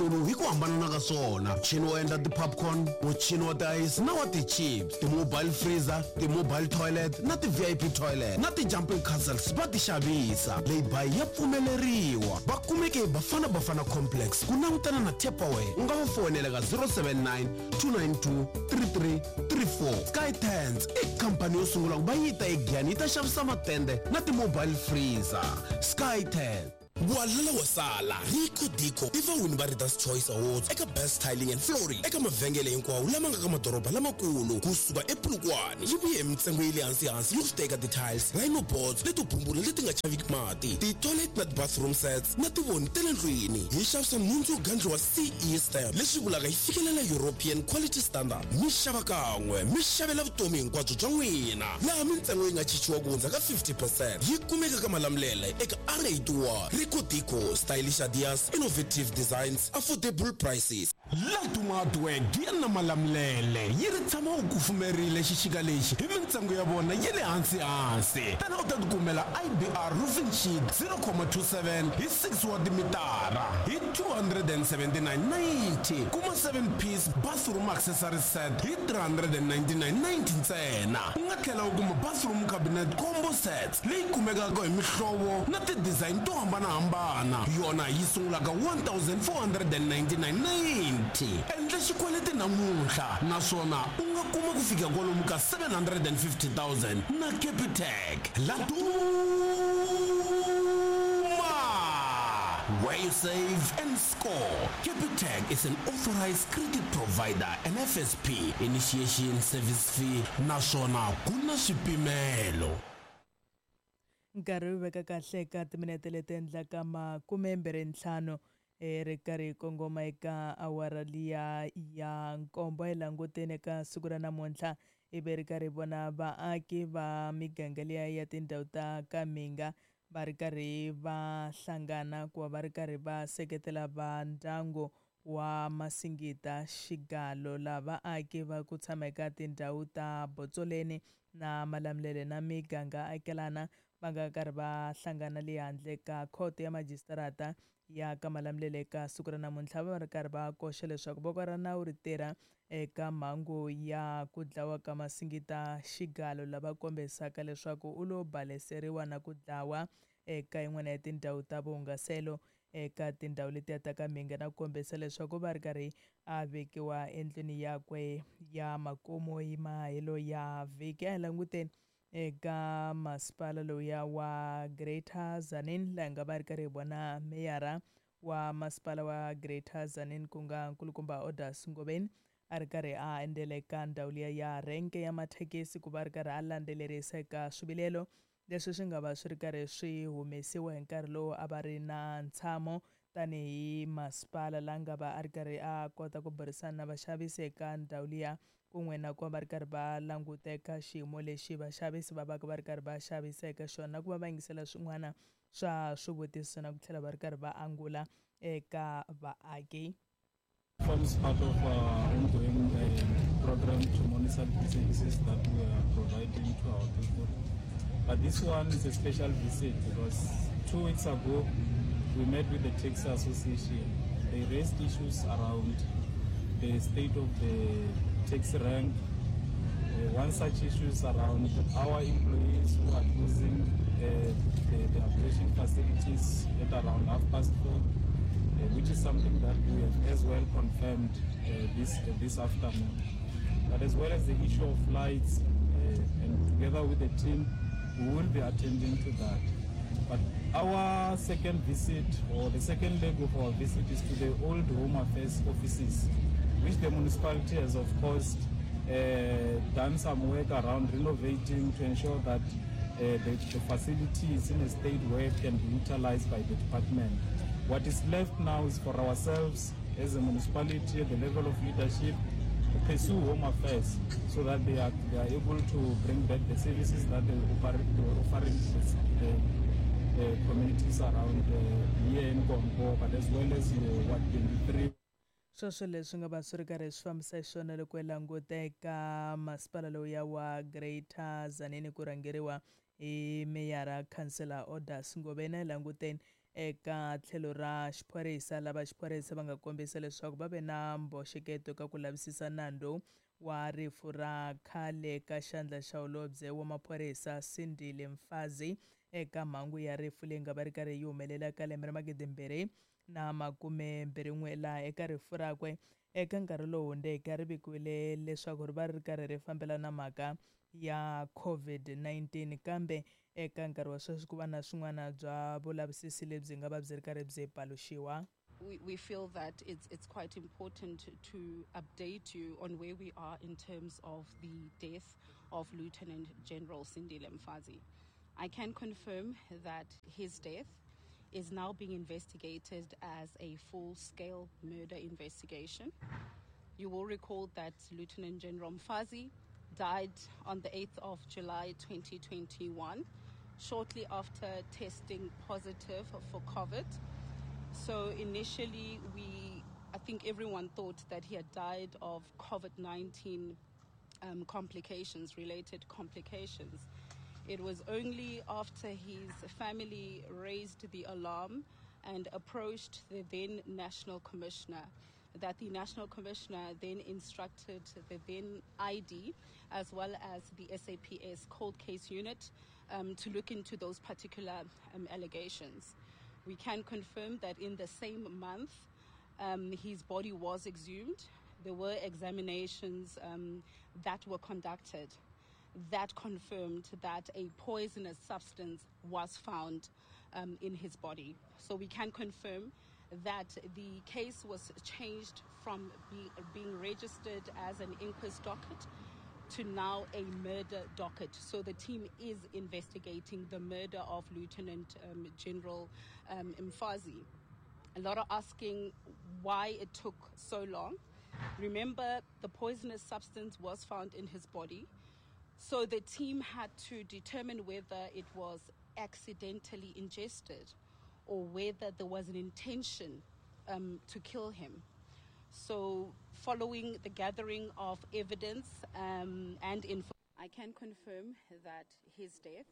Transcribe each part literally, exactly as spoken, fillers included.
Hi ku hambanana ka swona, muchini wo endla ti-popcorn, muchini wa ti-ice na wa ti-chips, ti-mobile freezer, ti-mobile toilet na ti-V I P toilet na ti-jumping castles va ti xavisa. Lay-by ya pfumeleriwa. Va kumeke hi Bafana Bafana Complex ku langutana na Tupperware. U nga va foyinela ka zero seven nine, two nine two, three three three four. Sky Tents i khampani yo sungula ku va yi ta eGiyani yi ta xavisa matende na ti-mobile freezer. Sky Tent. Walala wa sala. Rico Dico i vawini va Readers Choice Awards eka Best Tiling and Flooring eka mavhengele hinkwawo lama nga ka madoroba lamakulu kusuka ePolokwane. Yi vuye hi mintsengo yi le hansi-hansi loko swi teka ti-tiles, rhino boards leto bumbula leti nga chaviki mati, ti-toilet na ti-bathroom sets na tivoni ta le ndlwini. Hi xavisa nhundzu yo gandliwa C E stamp, leswi vulaka yi fikelela European quality standard. Mi xava kan'we, mi xavela vutomi hinkwabyo bya n'wina, laha mintsengo yi nga chichiwa ku hundza ka fifty percent. Yi kumeka ka Malamulele eka R eighty-one. Rico Dico, stylish ideas, innovative designs, affordable prices. Laduma Hardware Giya na Malamulele yi ri tshama u kufumerile xixika lexi hi mintsengo ya vona ya le hansi-hansi. Tana u ta tikumela I B R roofing sheet zero point two seven hi six wa timitara hi two hundred seventy-nine ninety. Kuma seven piece bathroom accessory set hi three hundred ninety-nine ninety ntsena. U nga tlhela u kuma bathroom cabinet combo sets leyi kumekaka hi mihlovo na ti-design to hambanahambana, yona yi sungulaka one thousand four hundred ninety-nine ninety. Endla xikweleti namuntlha naswona u nga kuma ku fika kwalomu ka seven hundred fifty thousand na Capitec. Laduma, where you save and score. Capitec is an authorized credit provider and F S P initiation service fee naswona ku na swipimelo. Nkarhi wu veka kahle ka timinete leti endlaka makume mbirhi ntlhanu e ri karhi hi kongoma eka awara liya ya nkombo. Hi languteni eka siku ra namuntlha, ivi ri karhi hi vona vaaki va miganga liya ya tindhawu ta ka Mhinga va ri karhi va hlangana ku va va ri karhi va seketela va ndyangu wa Masingita Xigalo. Laha vaaki va ku tshama eka tindhawu ta Botsoleni na Malamulele na miganga akelana va nga karhi va hlangana le handle ka khoto ya majisitarata ya ka Malamulele eka siku ra namuntlha, va ri karhi va koxa leswaku voko ra nawu ri tirha eka mhangu ya ku dlawa ka Masingita Xigalo, lava kombisaka leswaku u lo baleseriwa na ku dlawa eka yin'wana ya tindhawu ta vuhungaselo eka tindhawu letiya ta ka Mhinga, na ku kombisa leswaku va ri karhi a vekiwa endlwini yakwe ya makumu hi mahelo ya vhiki. A hi languteni eka masipala lowuya wa Greater Tzaneen, laha hi nga va ri karhi hi vona meyara wa masipala wa Greater Tzaneen, ku nga nkulukumba Odas Ngobeni, a ri karhi a endzela eka ndhawu liya ya renke ya mathekisi ku va ri karhi a landzelerisa eka swivilelo leswi swi nga va swi ri karhi swi humesiwa hi nkarhi lowu a va ri na ntshamo tanihi masipala, la nga va a ri karhi a kota ku burisana na vaxavisi eka ndhawu liya, kun'we na ku va va ri karhi va languta eka xiyimo lexi vaxavisi va va ka va ri karhi va xavisa eka xona, na ku va va yingisela swin'wana swa swivutiso na ku tlhela va ri karhi va angula eka vaaki. Forms part of our ongoing uh, program to monitor the services that we are providing to our people. But this one is a special visit because two weeks ago we met with the Taxi Association. They raised issues around the state of the taxi rank. Uh, one such issue is around our employees who are closing uh, the, the operation facilities at around half past four, uh, which is something that we have as well confirmed uh, this, uh, this afternoon. But as well as the issue of lights, uh, and together with the team, we will be attending to that. But our second visit, or the second leg of our visit, is to the old Home Affairs offices, which the municipality has, of course, uh, done some work around renovating to ensure that uh, the, the facility is in a state where it can be utilized by the department. What is left now is for ourselves as a municipality at the level of leadership to pursue Home Affairs so that they are, they are able to bring back the services that they were they were offering to the, the communities around uh, here in Congo, but as well as uh, Ward twenty-three. Sweswo leswi nga va swi ri karhi swi fambisa xiswona loko hi languta eka masipala lowuya wa Greater Tzaneen ku rhangeriwa hi meyara, khansela Odas Ngobeni. Hi languteni Eka tlhelo ra xiphorisa, lava xiphorisa va nga kombisa leswaku va ve na mboxeketo ka ku lavisisa nandzu wa rifu ra khale ka xandla xa holobye wa maphorisa Sindile Mfazi eka mhangu ya rifu leyi nga va ri karhi yi humelela ka lembe ra magidi mbirhi na makume mbirhi n'we, laha eka rifu rakwe eka nkarhi lowu hundzeke ri vikiwile leswaku ri va ri karhi ri fambelana mhaka ya COVID nineteen, kambe eka nkarhi wa sweswi ku va na swin'wana bya vulavisisi lebyi nga va byi ri karhi byi paluxiwa. We, we feel that it's, it's quite important to update you on where we are in terms of the death of Lieutenant General Sindile Mfazi. I can confirm that his death is now being investigated as a full-scale murder investigation. You will recall that Lieutenant General Mfazi died on the eighth of July twenty twenty-one, shortly after testing positive for COVID. So initially, we, I think everyone thought that he had died of COVID nineteen, um, complications, related complications. It was only after his family raised the alarm and approached the then National Commissioner that the National Commissioner then instructed the then I D as well as the S A P S cold case unit, um, to look into those particular, um, allegations. We can confirm that in the same month, um, his body was exhumed. There were examinations, um, that were conducted that confirmed that a poisonous substance was found, um, in his body. So we can confirm that the case was changed from be, being registered as an inquest docket to now a murder docket. So the team is investigating the murder of Lieutenant, um, General, um, Mfazi. A lot are asking why it took so long. Remember, the poisonous substance was found in his body. So the team had to determine whether it was accidentally ingested or whether there was an intention, um, to kill him. So following the gathering of evidence, um, and info, I can confirm that his death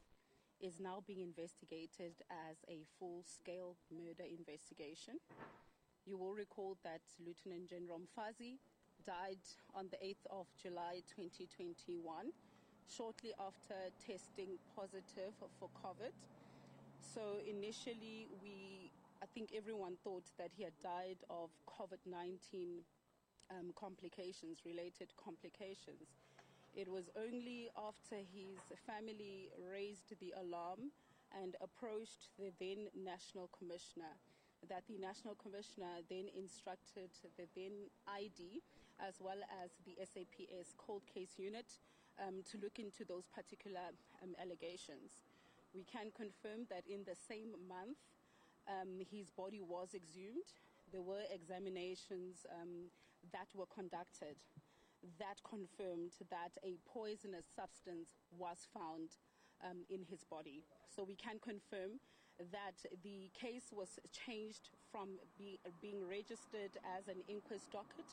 is now being investigated as a full-scale murder investigation. You will recall that Lieutenant General Mfazi died on the eighth of July twenty twenty-one, shortly after testing positive for COVID. So initially, we, I think everyone thought that he had died of COVID nineteen, um, complications, related complications. It was only after his family raised the alarm and approached the then National Commissioner that the National Commissioner then instructed the then I D as well as the S A P S cold case unit, um, to look into those particular, um, allegations. We can confirm that in the same month, um, his body was exhumed. There were examinations, um, that were conducted that confirmed that a poisonous substance was found, um, in his body. So we can confirm that the case was changed from be, being registered as an inquest docket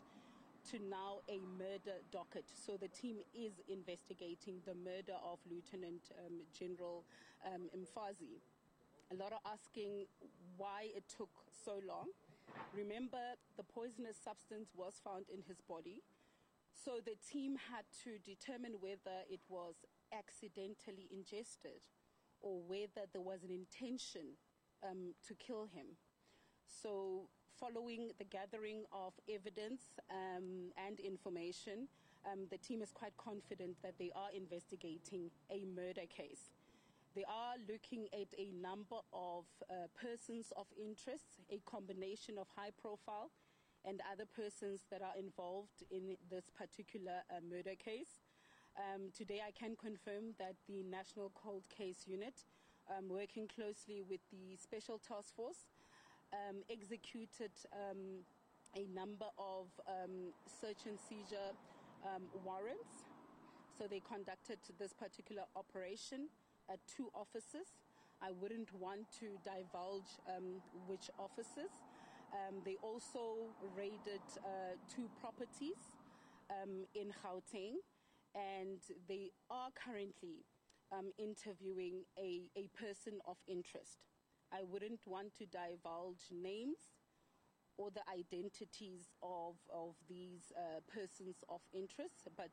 to now a murder docket. So the team is investigating the murder of Lieutenant, um, General, um, Mfazi. A lot are asking why it took so long. Remember, the poisonous substance was found in his body. So the team had to determine whether it was accidentally ingested or whether there was an intention, um, to kill him. So following the gathering of evidence, um, and information, um, the team is quite confident that they are investigating a murder case. They are looking at a number of, uh, persons of interest, a combination of high profile and other persons that are involved in this particular, uh, murder case. Um, today I can confirm that the National Cold Case Unit, um, working closely with the Special Task Force, um, executed, um, a number of, um, search and seizure, um, warrants. So they conducted this particular operation at two offices. I wouldn't want to divulge, um, which offices. Um, they also raided, uh, two properties, um, in Gauteng, and they are currently, um, interviewing a, a person of interest. I wouldn't want to divulge names or the identities of, of these uh, persons of interest, but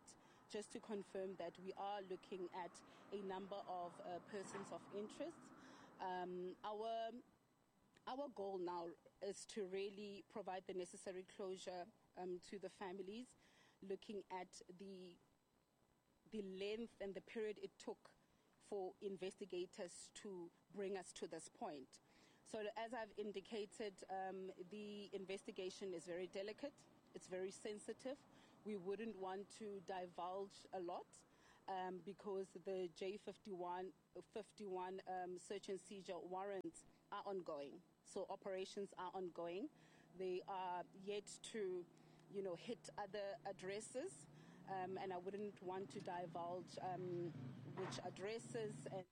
just to confirm that we are looking at a number of uh, persons of interest. Um, our, our goal now is to really provide the necessary closure um, to the families, looking at the, the length and the period it took for investigators to bring us to this point. So as I've indicated, um, the investigation is very delicate, it's very sensitive. We wouldn't want to divulge a lot um, because the J fifty-one, fifty-one, um, search and seizure warrants are ongoing. So operations are ongoing. They are yet to, you know, hit other addresses, um, and I wouldn't want to divulge um, which addresses. And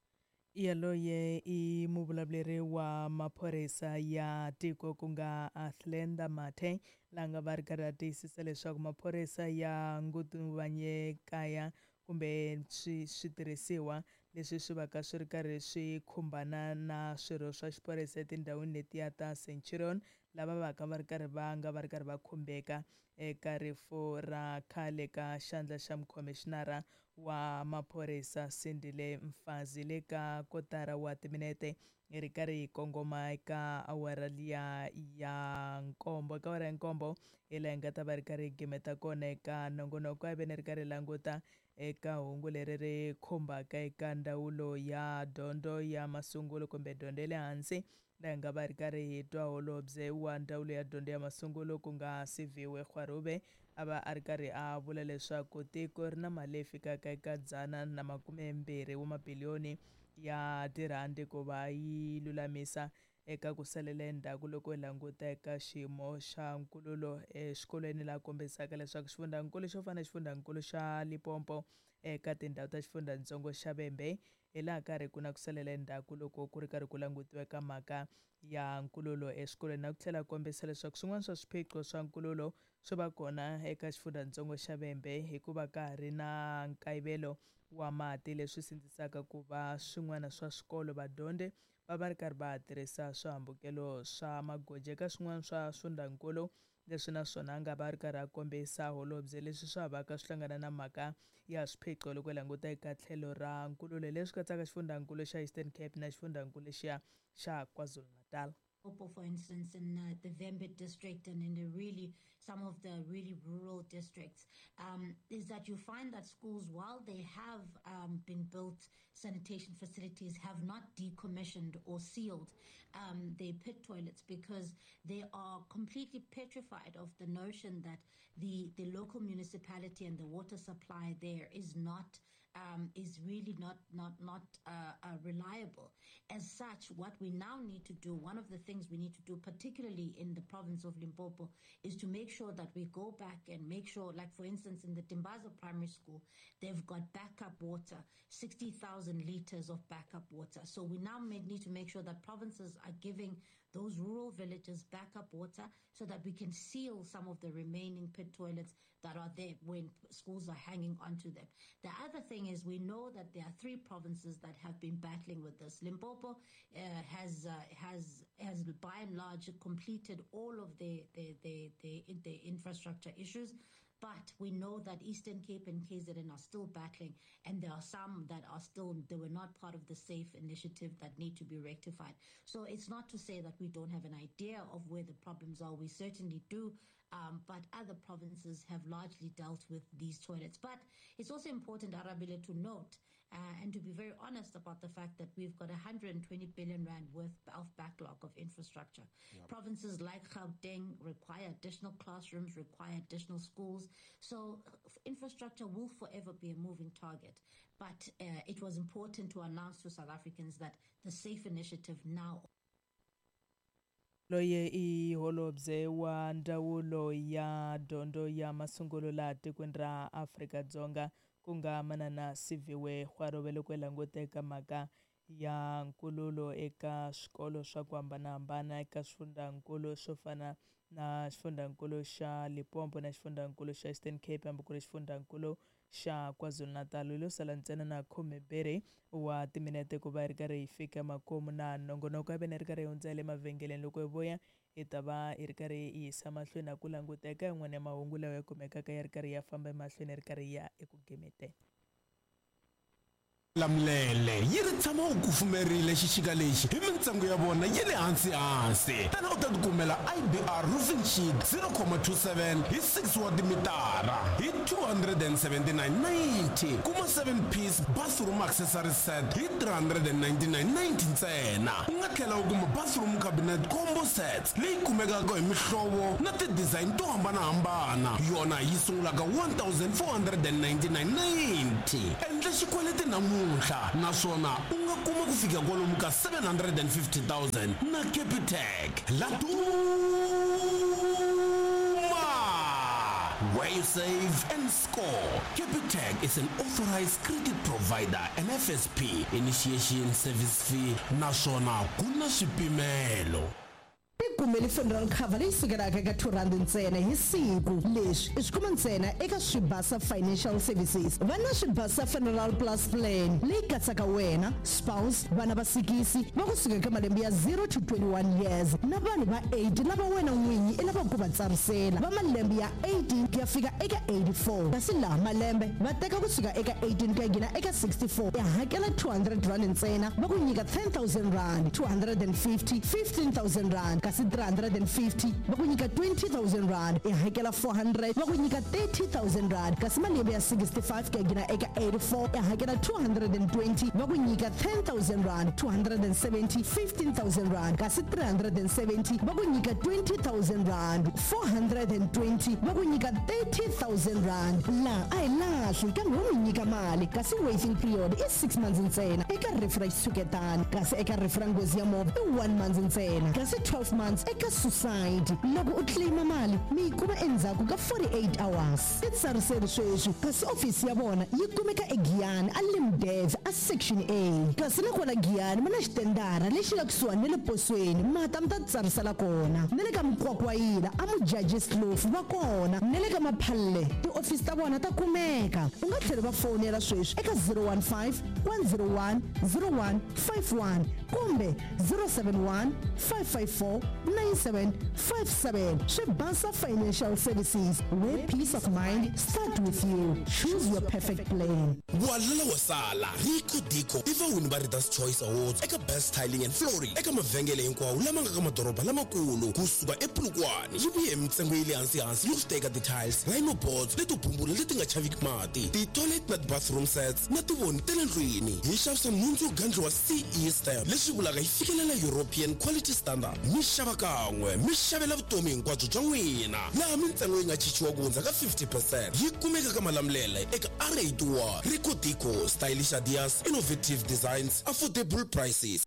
Yaloye i muvulavuleri wa maphorisa ya tiko ku nga Athlenda Mathe la nga va ri karhi a tiyisisa leswaku maphorisa ya ngutuvanye kaya kumbe swi switirhisiwa leswi swi va ka swi ri karhi swi khumbana na swirho swa xiphorisa etindhawini letiya ta Centurion lava va ka va ri karhi va nga va ri karhi va khumbeka eka rifu ra khale ka xandla xa mukhomishinara wa maphorisa Sindile Mfazi le ka kotara wa timinete hi ri karhi hi kongoma eka awara liya ya nkombo. Eka awara ya nkombo hi laha hi nga ta va ri karhi hi gimeta kona eka nongonoko a ve ni ri karhi hi languta eka hungu leri ri khumbaka eka ndzawulo ya dyondzo ya masungulo kumbe dyondzo ya le hansi laha hi nga va ri karhi hi twa holobye wa ndzawulo ya dyondzo ya masungulo ku nga Siviwe Gwarube a va a ri karhi a vula leswaku tiko ri na mali leyi fikaka eka dzana na makumembirhi wa mabiliyoni ya tirhandi ku va yi lulamisa eka ku salela endzhaku loko hi languta eka xiyimo xa nkululo exikolweni laha kombisaka leswaku xifundzankulu xo fana na xifundzankulu xa Limpopo eka tindhawu ta xifundzatsongo xa Vhembe hi laha karhi ku na ku salela endzhaku loko ku ri karhi ku langutiwa eka mhaka ya nkululo exikolweni na ku tlhela kombisa leswaku swin'wana swa swiphiqo swa nkululo swi va kona eka xifundzatsongo xa Vhembe hikuva ka ha ri na nkayivelo wa mati leswi sindzisaka ku va swin'wana swa swikolo vadyondzi va va ri karhi va tirhisa swihambukelo swa magoji eka swin'wana swa swifundzankulu leswi naswona a nga va ri karhi a kombisa holobye leswi swa va ka swi hlangana na mhaka ya swiphiqo loko hi languta eka tlhelo ra nkululo leswi katsaka xifundzankulu xa Eastern Cape na xifundzankulu lexiya xa KwaZulu-Natal. For instance, in uh, the Vhembe district and in the really some of the really rural districts, um, is that you find that schools, while they have um, been built sanitation facilities, have not decommissioned or sealed um, their pit toilets because they are completely petrified of the notion that the, the local municipality and the water supply there is not Um, is really not not not uh, uh, reliable. As such, what we now need to do, one of the things we need to do, particularly in the province of Limpopo, is to make sure that we go back and make sure, like for instance, in the Dimbaza Primary School, they've got backup water, sixty thousand liters of backup water. So we now may need to make sure that provinces are giving those rural villages backup water so that we can seal some of the remaining pit toilets that are there when schools are hanging onto them. The other thing is we know that there are three provinces that have been battling with this. Limpopo uh, has uh, has has by and large completed all of the the, the, the, the infrastructure issues. But we know that Eastern Cape and K Z N are still battling, and there are some that are still, they were not part of the SAFE initiative that need to be rectified. So it's not to say that we don't have an idea of where the problems are. We certainly do, um, but other provinces have largely dealt with these toilets. But it's also important, Arabile, to note uh, and to be very honest about the fact that we've got one hundred twenty billion rand worth of backlog of infrastructure. Yep. Provinces like Gauteng require additional classrooms, require additional schools. So infrastructure will forever be a moving target. But uh, it was important to announce to South Africans that the SAFE initiative now. Loye i holobye wa ndzawulo ya dyondzo ya masungulo laha tikweni ra Afrika-Dzonga ku nga manana Siviwe Gwarube loko hi languta eka mhaka ya nkululo eka swikolo swa ku hambanahambana eka swifundzankulu swo fana na xifundzankulu xa Limpopo na xifundzankulu xa Eastern Cape hambi ku ri xifundzankulu xa KwaZulu-Natal. Lo sala ntsena na khume mbirhi wa timinete ku va hi ri karhi hi fika makumu na nongonoko ya vena ri karhi hi hundza le mavhengeleni. Loko hi vuya hi ta va hi ri karhi hi yisa mahlweni na ku languteka yin'wana ya mahungu lawa ya kumekaka ya ri karhi ya famba emahlweni ri karhi ya eku gemeteni. Lamulele yi ri tshama u kufumerile xixika lexi hi mintsengo ya vona yi le hansi hansi. Tana u ta tikumela I B R roofing sheet zero comma two seven hi six wa timitara hi two hundred and seventy-nine ninety. Kuma seven piece bathroom accessory set hi three hundred and ninety-nine ninety ntsena. U nga tlhela u kuma bathroom cabinet combo sets leyi kumekaka hi mihlovo na ti-design to hambanahambana, yona yi sungulaka one thousand four hundred and ninety-nine ninety. Endla xikweleti namuntlha naswona u nga kuma ku fika kwalomu ka seven hundred and fifty thousand na Capitec. Laduma, where you save and score. Capitec is an authorized credit provider and F S P initiation service fee naswona ku na swipimelo. Tikumeli funeral cover leyi sukelaka eka two rand ntsena hi siku. Leswi i swi kuma ntsena eka Swibasa Financial Services. Va na Swibasa Funeral Plus Plan leyi katsaka wena, spouse, vana va sikisi va kusuka eka malembe ya zero to twenty-one years na vanhu va eight lava wena n'winyi i lavaka ku va tsarisela va malembe ya eighteen ku ya fika eka eighty-four. Kasi laha malembe va teka kusuka eka eighteen ku ya nghena eka sixty-four. Ya hakela two hundred rand ntsena, va ku nyika ten thousand rand, two hundred and fifty, fifteen thousand rand. Kasi three hundred and fifty va ku nyika twenty thousand rand, i hakela four hundred va ku nyika thirty thousand rand. Kasi malembe ya sixty-five ku ya nghena eka eighty-four, i hakela two hundred and twenty va ku nyika ten thousand rand, two hundred and seventy, fifteen thousand rand. Kasi three hundred and seventy va ku nyika twenty thousand rand, four hundred and twenty va ku nyika thirty thousand rand. Laha a hi lahli kambe wo mi nyika mali, kasi waiting period i six months ntsena eka rifu ra xitshuketano, kasi eka rifu ra nghozi ya movha i one month ntsena, kasi twelve months eka suicide. Loko u claima mali mi yi kuma endzhaku ka forty-eight hours. Titsariseli sweswi, kasi ofisi ya vona yi kumeka eGiyani a Limdev a section A. Kasi nakona Giyani ma na xitendara lexi nga kusuhani na le posweni, mata mi ta titsarisela kona. Na le ka Mkwakwayila a Mujajis Kloof va kona, na le ka Maphalle tiofisi ta vona ta kumeka. U nga tlhela va fonela sweswi eka zero one five, one zero one, zero one five one kumbe zero seven one, five five four, nine seven five seven. Swibasa Financial Services, where peace of mind start with you. Choose your perfect plan. Walala wasala Rico Dico i vawini va Readers Choice Awards eka Best Tiling and Flooring eka mavhengele hinkwawo lama nga ka madoroba lamakulu kusuka ePolokwane. Yi vuye hi mintsengo ya le hansi hansi yo swi teka ti-tiles, rhino boards leto bumbula leti nga chaviki mati, ti-toilet na ti-bathroom sets na tivoni ta le ndlwini. Hi xavisa nhundzu yo gandliwa C E stamp leswi vulaka yi fikelela European Quality Standard. Mi xava kan'we mi xavela vutomi hinkwabyo bya n'wina, laha mintsengo yi nga chichiwa ku hundza ka fifty percent. Yi kumeka ka Malamulele eka R eighty-one. Rico Dico, stylish ideas, innovative designs, affordable prices.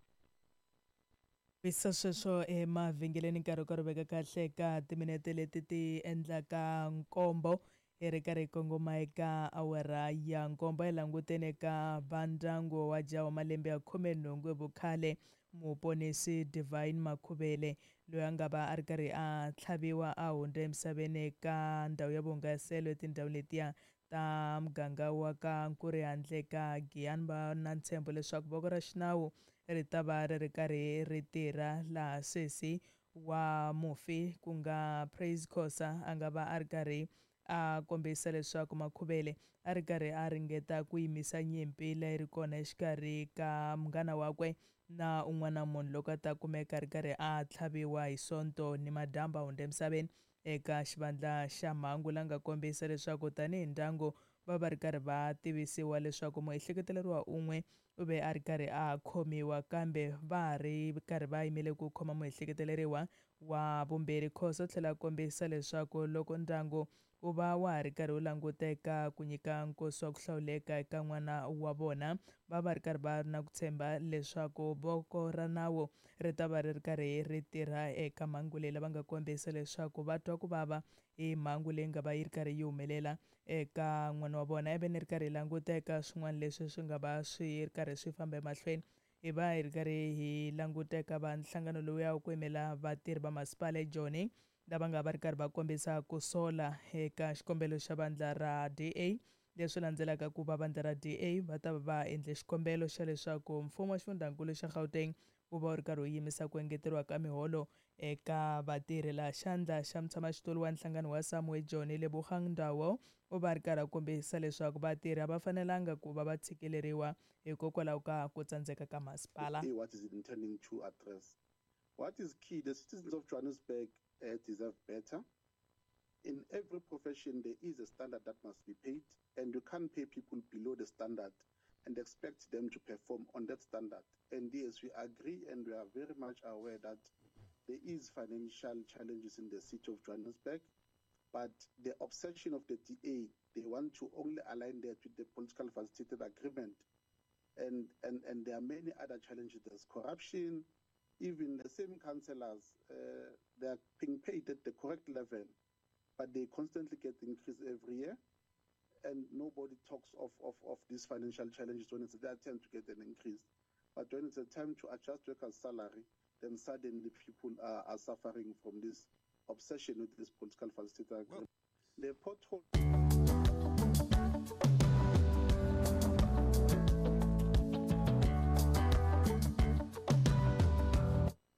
Bisa sweswo emavhengeleni nkarhi wo karhi veka kahle ka timinete leti ti endlaka nkombo hi ri karhi hi kongoma eka awara ya nkombo. Hi languteni eka vandyangu wa jaha wa malembe ya khume nhungu hi vukhale, muponisi Divine Makhuvele, loyi a nga va a ri karhi a tlhaviwa a hundza emisaveni eka ndhawu ya vuhungaselo etindhawu letiya ta muganga wa ka Nkuri handle ka Giyani. Va na ntshembo leswaku voko ra xinawu ri ta va ri ri karhi ri tirha laha sesi wa mufi ku nga Praise Khosa a nga va a ri karhi a kombisa leswaku Makhuvele a ri karhi a ringeta ku yimisa nyimpi leyi ri kona exikarhi ka munghana wakwe na un'wana munhu loko a ta kumeka a ri karhi a tlhaviwa hi Sonto ni madyambu a hundza emisaveni eka xivandla xa mhangu. La nga kombisa leswaku tanihi ndyangu va va ri karhi va tivisiwa leswaku muehleketeleriwa un'we u ve a ri karhi a khomiwa, kambe va ha ri karhi va yimele ku khoma muehleketeleriwa wa vumbirhi. Khosa u tlhela a kombisa leswaku loko ndyangu wu va wa ha ri karhi wu languteka ku nyika nkosi wa ku hlawuleka eka n'wana wa vona, va va ri karhi va ri na ku tshemba leswaku voko ra nawu ri ta va ri ri karhi ri tirha eka mhangu leyi. Lava nga kombisa leswaku va twa ku vava hi mhangu leyi nga va yi ri karhi yi humelela eka n'wana wa vona. Ivi ni ri karhi hi languta eka swin'wana leswi swi nga va swi ri karhi swi famba emahlweni, hi va hi ri karhi hi languta eka va nhlangano lowuya wa ku yimela vatirhi va masipala eJoni, lava nga va ri karhi va kombisa ku sola eka xikombelo xa vandla ra D A Leswi landzelaka ku va vandla ra D A va ta va endle xikombelo xa leswaku mfumo wa xifundzankulu xa Gauteng wu va wu ri karhi wu yimisa ku engeteriwa ka miholo eka vatirhi. Laha xandla xa mutshamaxitulu wa nhlangano wa Samwe John Lebogang Ndawo u va ri karhi a kombisa leswaku vatirhi a va fanelanga ku va va tshikeleriwa hikokwalaho ka ku tsandzeka ka masipala. What is it intending to address? What is key? The citizens of Johannesburg uh, deserve better. In every profession, there is a standard that must be paid, and you can't pay people below the standard and expect them to perform on that standard. And yes, we agree and we are very much aware that there is financial challenges in the city of Johannesburg, but the obsession of the D A, they want to only align that with the political facilitated agreement. And, and, and there are many other challenges. There's corruption. Even the same councillors, uh, they are being paid at the correct level, but they constantly get increased every year. And nobody talks of, of, of these financial challenges when it's their turn to get an increase. But when it's a time to adjust workers' salary, then suddenly people are, are suffering from this obsession with this political facilitator agreement. The pothole...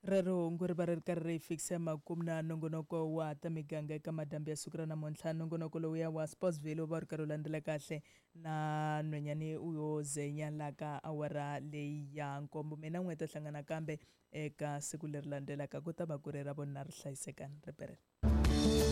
Rero hungu ri va ri ri karhi ri fikisa makumu na nongonoko wa ta miganga eka madyambu ya siku ra namuntlha. Nongonoko lowuya wa Sportsville wu va ri karhi wu landzela kahle na nhwenyani yo zenya la ka awara leyi ya nkombo. Mina n'we ta hlangana kambe eka siku leri landzelaka ku ta va ku ri ra vona ri hlayisekani ri perela.